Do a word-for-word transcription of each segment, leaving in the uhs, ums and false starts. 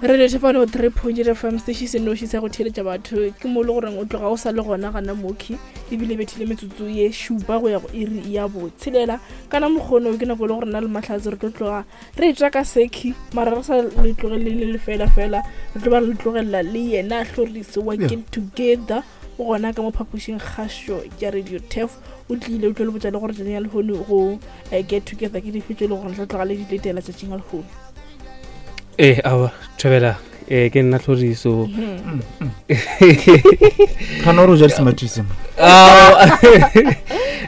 Radio Tshepano three point eight F M, station se noši sa go theeletša batho. Ke mo le goreng o tloga o sa le gona gana mokhi, ebile bethile metsotso ye šupa go ya go iri ya botshelela. Kana mokgono ke nako e le gore nna le Mahlatse re tlo tloga re tswa ka seki, mara re sa le tlogele le le fela fela, re tlo ba re le tlogelela le yena Hloriso wa Yeah. Get Together. O gona ka mo phapošing kgašo ya Radio Turf, o tlile o tlo le botša le gore tšatšing la lehono go, eh, Get Together ke dife tše e le gore re tla tloga le di letela tšatšing la lehono. Eh, aowa, thobela, eh, ke nna Hloriso. Mm. Gana gore o ja di-smarties mo. Ao,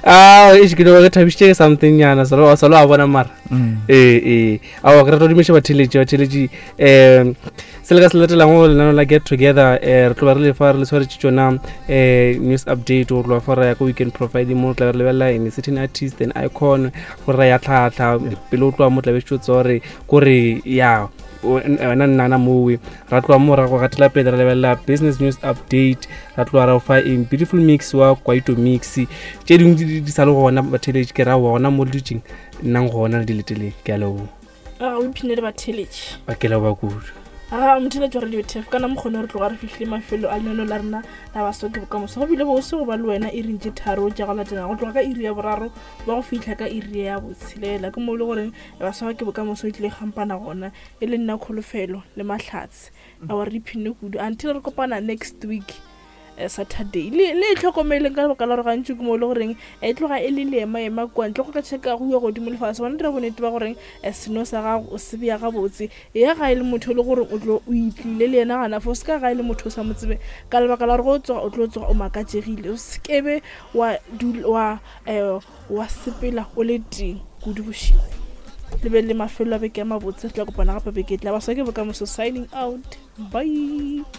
ao, eish, ke no ke thabišitše ke something nyana, salo, salo a bona mara. Mm. Eh, eh, aowa, ke rata go dumiša batheeletši, batheeletši, eh, se le ka se latelang go lenaneo la Get Together, eh, re tlo ba re lefa re le tshwaretše tšona, eh, news update, go tloga fa ra ya ko weekend profiling mo re tla be re lebelela in a certain artist and icon, gore ra ya tlhatlha, pele o tloga mo tla be tšo tsa gore kore ya, o, n-, wena nnana mowe. Ra tloga mo ra go gatela pele ra lebelela business news update, ra tloga ra fa eng beautiful mix wa kwaito mix, tše dingwe di, di sa le gona batheeletši, ke ra gona mo le dutšeng nnang gona le di leteleng. Ke a leboga. A o iphine le batheeletši. Ba ke leboga kudu. A motheeletši wa Radio Turf, kana mokgone re tloga re fihlile mafelo a lenaneo la rena la Baswa ke Bokamoso. Go bile bose go ba le wena iring tše tharo tša go latela, go tloga ka iri ya boraro ba go fihla ka iri ya botshelela. Ke mo e le goreng Baswa ke Bokamoso e tlile kgampana gona, e le nna Kholofelo le Mahlatse. A wa re ipshine kudu until re kopana next week, eh, Saturday. Le, le itlhokomeleng ka lebaka la gore gantši ke mo e le goreng e tloga e le leema-ema kua ntle go ka checka go ya godimo lefase. Bona dira bonnete ba goreng, eh, seno sa gago o se bea gabotse. Ya ga e le motho e le gore o tlo o itlile le yena gana fo, se ka ga e le motho o sa mo tsebe, ka lebaka la gore go tsoga o tlo tsoga o makatšegile. O se kebe wa dula, wa, eh, wa sepela o le teng kudu bošego. Le be le mafelo a beke a mabotse, re tla kopana gape beke e tla. Baswa ke Bokamoso signing out. Bye.